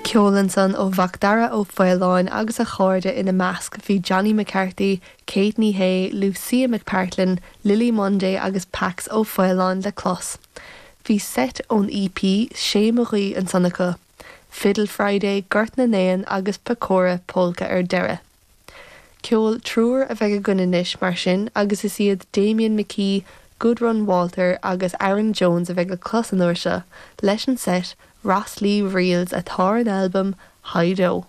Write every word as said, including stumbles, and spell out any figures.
Ceol ansan ó Mhacdara Ó Faoláin agus a chairde ina measc bhí Johnny McCarthy, Kate Ní Shé, Lucia McPartlin, Lily Monday agus Pax Ó Faoláin le clos. Bhí set ón EP sé mo ghuí ansan acu. Fiddle Friday, Gort na nÉan agus Pecora Polka ar deireadh. Ceol triúr a bheidh againn anois mar sin agus is iad Damien McKee, Gudrun Walter agus Aaron Jones a bheidh le clos an uair seo leis an set Rosslea Reels atá an albam Hi-Do.